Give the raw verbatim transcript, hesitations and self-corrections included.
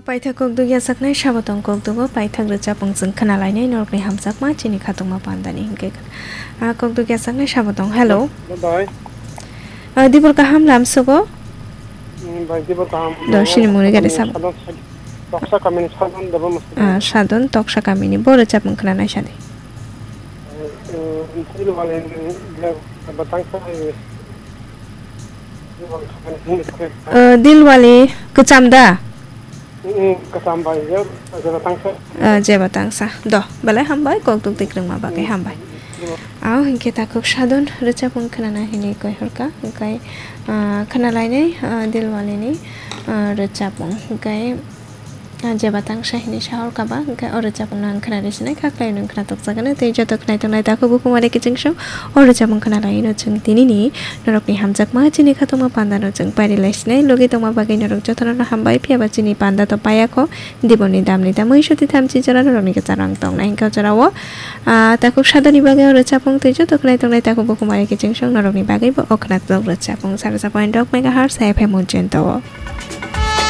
Paithak kokduk yachaknai sabotong kokdugo paithak rwchapung chwng khwnalainai norokni hamjakma chini khatungma pandani hinkhe, ah, kokduk yachaknai sabotong. Hello. Bai. Ah, dibor kaham lamsogo? Hmm, bai, dibor kaham. Do sini muni gari sabo. Sadon, Toksa kamini Sadon Debamasa. Ah, Sadon Toksa kamini. Bo rwchapung khwnanai sadi. Eh, eh, Dilwali, eh, Batangsa, eh, Dilwali, eh, Dilwali kwcham da? Mm, kwcham bai, je, je Batangsa. Ah, je Batangsa. Do, belai hambai, kokduk tikrwngma bagwi hambai. Aw, hinkhe takhuk Sadon rwchapung khwnana hinwi koi horkha, hinkhe, ah, khwnalainai, ah, Dilwalini, ah, rwchapung. Hinkhe, ah, je Batangsa hinwi sa horkha ba, hinkhe o rwchapungno ang khwnari sinai kha, khlai nwng khwnatukjakgwno. Tei joto khwnai tongnai takhuk bukhumari kiching song o rwchapung khwnalaino chwng tinini norokni hamjakma chini khatungma pandano chwng pairi lai sinai. Logi tongma bagwi norok jotono hambai, phiyaba chini panda to payakho. Diboni damni da mui suti thamchi jora norokni kwcharo ang tongnai hinkhe o jorao, ah, takhuk Sadoni bagwi o rwchapung tei joto khwnai tongnai takhuk bukhumari kiching song norokni bagwibo o khwnatok rwchapung sara sa point rok megahertz F M Ujjayanta o.